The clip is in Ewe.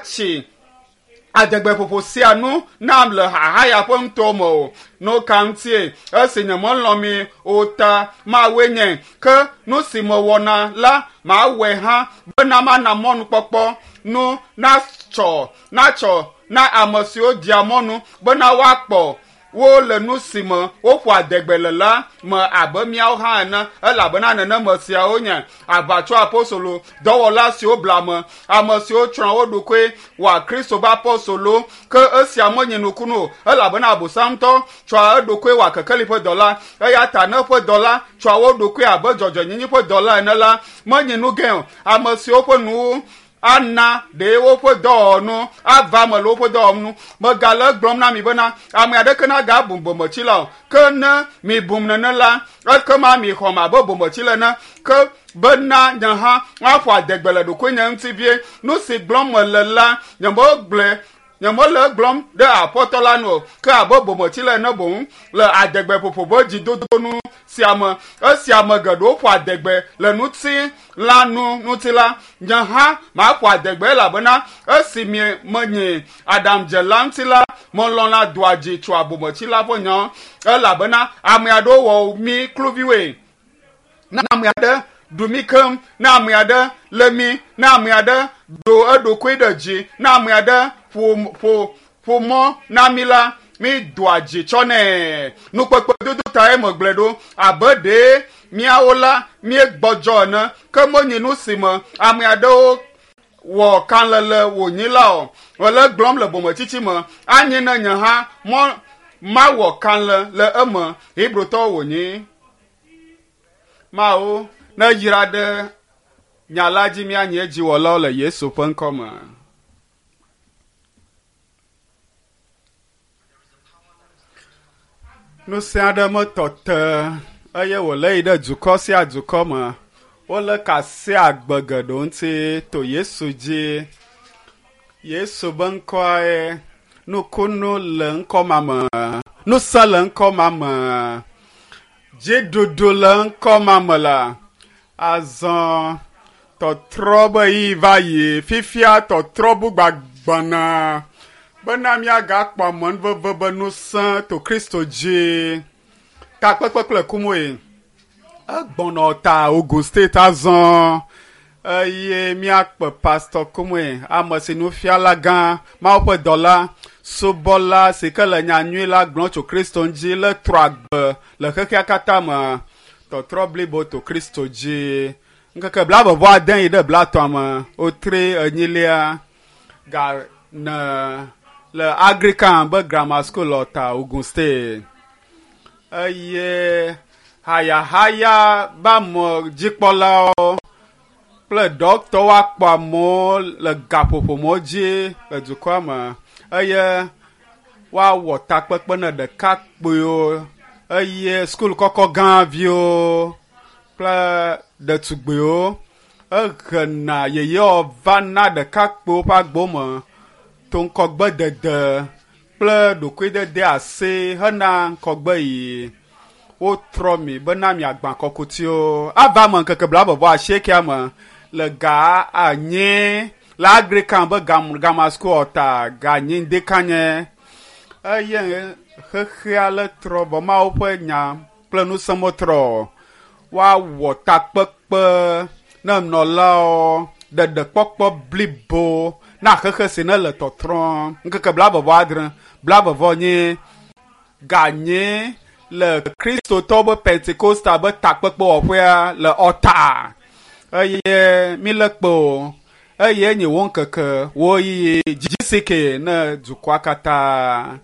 Tsi adegbeƒoƒo sia nu nam le xaxa ya ƒe ŋutɔ me o. Nu ka ŋutie? Esi nyemelɔ̃ mi o ta mawɔe nye. Ke nu si mewɔna la, mawɔe hã bena mana mɔnukpɔkpɔ nu natsɔ natsɔ na ame siwo dia mɔnu bena woakpɔ wo le nu si me woƒo adegbe le la me abe míawo hã ene elabena neneme siawo nye aʋatso apostolo dɔwɔla siwo bla ame ame siwo tsrɔ̃ wo ɖokoe wɔa kristo ƒe apostolo ke esia menye nukunu o elabena abosam ŋutɔ tsɔa eɖokoe wɔa kekeli ƒe dɔla eya ta ne eƒe dɔla tsɔa wo ɖokoe abe dzɔdzɔenyenye ƒe dɔla ene la menye nu gã o ame siwo ƒe nuwo ana ɖe woƒe dɔwɔnu ava me le woƒe dɔwɔnu megale egblɔm na mi bena ame aɖeke nagabu bometsila o ke ne mi bum nene la ekema mi xɔm abe bometsila ene ke bena nye hã maƒo adegbe le ɖokuinye ŋuti vie nu si gblɔm mele la nyemegblɔe nyemele egblɔm ɖe aƒetɔ la nu o ke abe bometsila ene boŋ le adegbeƒoƒo ƒe dzidodonu sia me esi ame geɖewo ƒo adegbe le ŋuti la nu ŋuti la nye hã maƒo adegbe elabena esi mi menye aɖaŋudzela ŋuti la melɔ̃na doa dzi tsoa bometsila ƒe nya elabena ame aɖewo wɔ mí kluviwoe ne ame aɖe ɖu mí keŋ ne ame aɖe lé mí ne ame aɖe ɖo eɖokui ɖe dzi ne ame aɖe ƒo ƒo ƒo mɔ na mí la mí doa dzi tsɔ nɛ nukpekpe dodo tae megblɔe ɖo abe ɖe míawo la míegbɔdzɔ ene ke menye nu si me ame aɖewo wɔ kalẽle wònyi la o mele gblɔm le bometsitsi me anye ne nye hã mɔ mawɔ kalẽ le eme hebrotɔwo wònyi mawo ne yra ɖe nya la dzi míanye dziwɔlawo le yesu ƒe ŋkɔ me. Ŋusẽ aɖe metɔ te eye wòle yi ɖe dukɔ sia dukɔ me. Wolé ka sia agbe geɖewo ŋuti to Yesu dzi. Yesu be ŋkɔe nukunu le ŋkɔ ma me. Ŋusẽ le ŋkɔ ma me. Dziɖuɖu le ŋkɔ ma me la. Azɔ tɔtrɔ be yi va yi fifia tɔtrɔ bugbagbɔna bena míagakpɔ amenuveve be ŋusẽ to Kristo dzi. Takpekpe kple kumoe. Egbɔnɔ ta Ogun State azɔ eye míakpe Pastor Kumoe, ame si nufiala gã, Mawu ƒe dɔla, subɔla si ke le nyanyui la gblɔm tso Kristo ŋuti le trɔ agbe le xexea katã me. Tɔtrɔ blibo to Kristo dzi. Ŋkeke blaeve vɔ ade yi ɖe blaetɔ̃ me, wotre enyilia ga ne le Anglican be Grammar School Ɔta, Ogun State. Eye hayahaya be ame dzikpɔlawo kple dɔkitɔwo akpɔ amewo le gaƒoƒomɔwo dzi le dukɔa me eye woawɔ takpekpe ne ɖekakpuiwo eye sukulu kɔkɔ gã viwo kple ɖetugbiwo ehena yeyewo va na ɖekakpuiwo ƒe agbo me to ŋkɔgbedede kple ɖokuidede asi hena ŋkɔgbe yiyi. Wotrɔ mi bena miagbã kɔkutiwo. Ava me ŋkeke blaeve vɔ asiekea me le ga anyi le Anglican be Grammar School Ɔta ga anyi ŋdekanye eye xexea le trɔ vɔ Mawu ƒe nya kple ŋusẽ metrɔ o. Woawɔ takpekpe ne nɔlawo ɖeɖekpɔkpɔ blibo na xexe si ne le tɔtrɔm. Ŋkeke blaeve vɔ adre, blaeve vɔ nyi ganye le kristotɔwo be Pentecostal be takpekpewɔƒea le Ɔta eye mílé kpe o eye nye wo ŋkeke wo ɣeyiɣi GCK ne dukɔa katã.